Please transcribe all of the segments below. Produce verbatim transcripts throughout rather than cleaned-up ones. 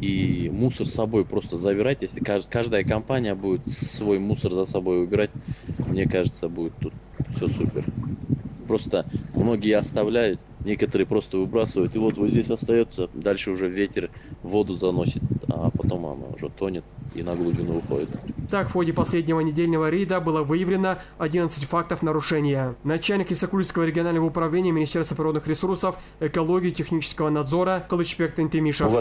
и мусор с собой просто забирать. Если каждая компания будет свой мусор за собой убирать, мне кажется, будет тут все супер. Просто многие оставляют, некоторые просто выбрасывают, и вот вот здесь остается, дальше уже ветер воду заносит, а потом она уже тонет и на глубину уходит. Так, в ходе последнего недельного рейда было выявлено одиннадцать фактов нарушения. Начальник Исыкульского регионального управления Министерства природных ресурсов, экологии и технического надзора Кылычбек Тентемишев.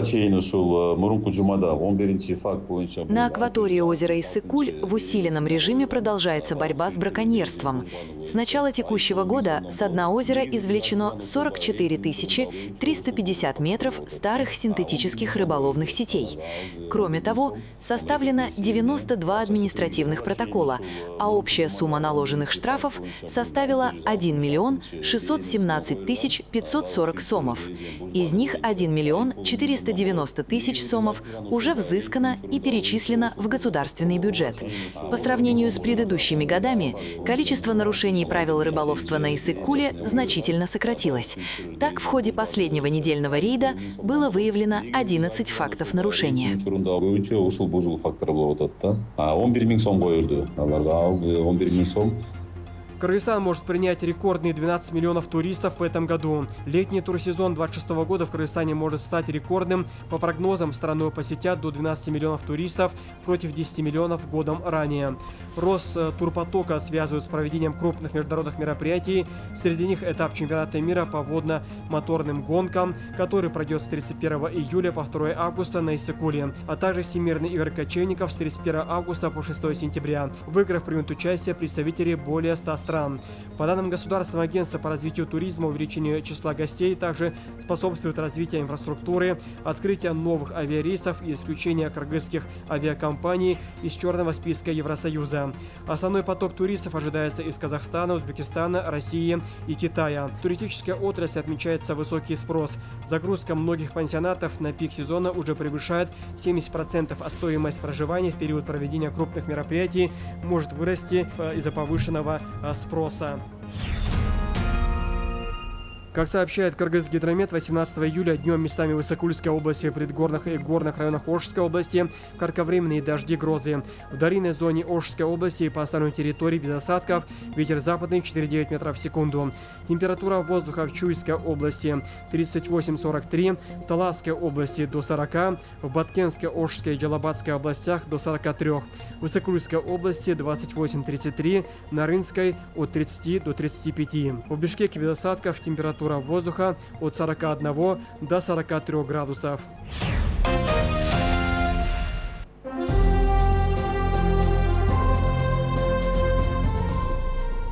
На акватории озера Иссык-Куль в усиленном режиме продолжается борьба с браконьерством. С начала текущего года с дна озера извлечено сорок четыре тысячи триста пятьдесят метров старых синтетических рыболовных сетей. Кроме того, составлено девяносто два административных протокола, а общая сумма наложенных штрафов составила один миллион шестьсот семнадцать тысяч пятьсот сорок сомов. Из них один миллион четыреста девяносто тысяч сомов уже взыскано и перечислено в государственный бюджет. По сравнению с предыдущими годами, количество нарушений правил рыболовства на Иссык-Куле значительно сократилось. Так, в ходе последнего недельного рейда было выявлено одиннадцать фактов нарушения. он бир миң сом коюлду. Аларга алды он бир миң сом. Кыргызстан может принять рекордные двенадцать миллионов туристов в этом году. Летний турсезон двадцать шестого года в Кыргызстане может стать рекордным. По прогнозам, страну посетят до двенадцати миллионов туристов против десяти миллионов годом ранее. Рост турпотока связывают с проведением крупных международных мероприятий. Среди них этап чемпионата мира по водно-моторным гонкам, который пройдет с тридцать первого июля по второго августа на Иссык-Куле, а также Всемирные игры кочевников с тридцать первого августа по шестого сентября. В играх примут участие представители более ста стран. По данным Государственного агентства по развитию туризма, увеличению числа гостей также способствует развитию инфраструктуры, открытие новых авиарейсов и исключение кыргызских авиакомпаний из черного списка Евросоюза. Основной поток туристов ожидается из Казахстана, Узбекистана, России и Китая. В туристической отрасли отмечается высокий спрос. Загрузка многих пансионатов на пик сезона уже превышает семьдесят процентов, а стоимость проживания в период проведения крупных мероприятий может вырасти из-за повышенного спроса. Как сообщает Кыргызгидромет, восемнадцатого июля днем местами в Иссык-Кульской области, предгорных и горных районах Ошской области кратковременные дожди, грозы. В долинной зоне Ошской области и по остальной территории без осадков ветер западный четыре целых девять десятых метров в секунду. Температура воздуха в Чуйской области тридцать восемь — сорок три, в Таласской области до сорока, в Баткенской, Ошской и Джалабадской областях до сорока трёх, в Иссык-Кульской области двадцать восемь — тридцать три, на Рынской от тридцати до тридцати пяти. В Бишкеке без осадков температура воздуха от сорока одного до сорока трёх градусов.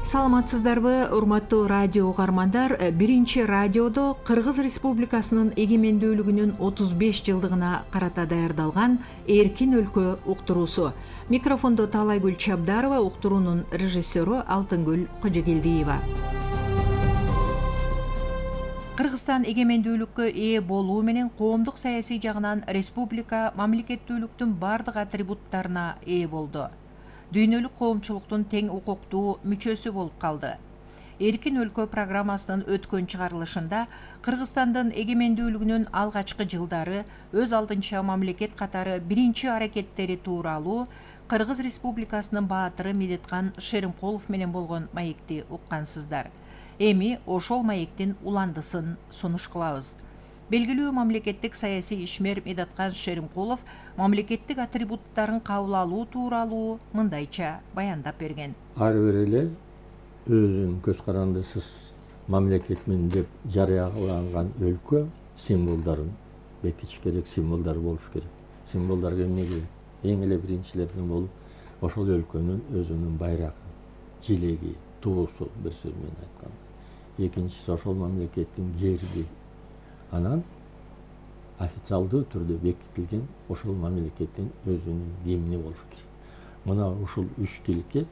Саламатсыздарбы, урматтуу радио угармандар. Биринчи радиодо Кыргыз Республикасынын эгемендүүлүгүнүн отуз беш жылдыгына карата даярдалган Эркин өлкө уктуруусу. Микрофондо Таалайгүл Чабдарова, уктуруунун режиссеру Алтынгүл Кожогелдиева. Кыргызстан эгемендүүлүккө ээ болуу менен коомдук саясий жагынан республика мамлекеттүүлүктүн бардык атрибуттарына ээ болду. Дүйнөлүк коомчулуктун тең укуктуу мүчөсү болуп калды. Эркин өлкө программасынын өткөн чыгарылышында Кыргызстандын эгемендүүлүгүнүн алгачкы жылдары өз алдынча мамлекет катары биринчи аракеттери тууралуу Кыргыз Республикасынын баатыры Медеткан Шеримкулов менен болгон маекти уккансыздар. Эми ошол маектин уландысын сунуш кылабыз. Белгилүү мамлекеттик саясий ишмер Медеткан Шеримкулов мамлекеттик атрибуттарын кабыл алуу тууралуу мындайча баяндап берген. Ар бир эле өзүнүн көз карандысыз мамлекетмин деп жарыяланган өлкө символдорун бекитиш керек, символдор болуш керек. Символдорго эмне керек? Эң эле биринчилерден болуп ошол өлкөнүн өзүнүн байрагы, жилеги, туусу, бир сөз менен айтканда. Экинчиси ошол мамлекеттин герби. Анан официалдуу түрдө бекитилген ошол мамлекеттин өзүнүн гимни болуш керек. Мына ушул үч тилке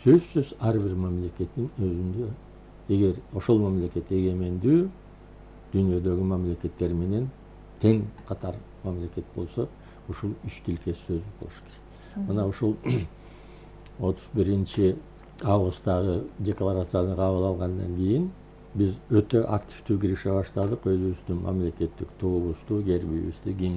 сөзсүз ар бир мамлекеттин өзүндө, эгер ошол мамлекет эгемендүү дүйнөдөгү мамлекеттер менен тең катар мамлекет болсо, ушул үч тилке сөз болуш керек. Мына ушул отуз биринчи августтагы декларацияны кабыл алгандан кийин биз өтө активдүү киреше баштадык өзүбүздүн мамлекеттик туубузду, гербибизди, гимнибизди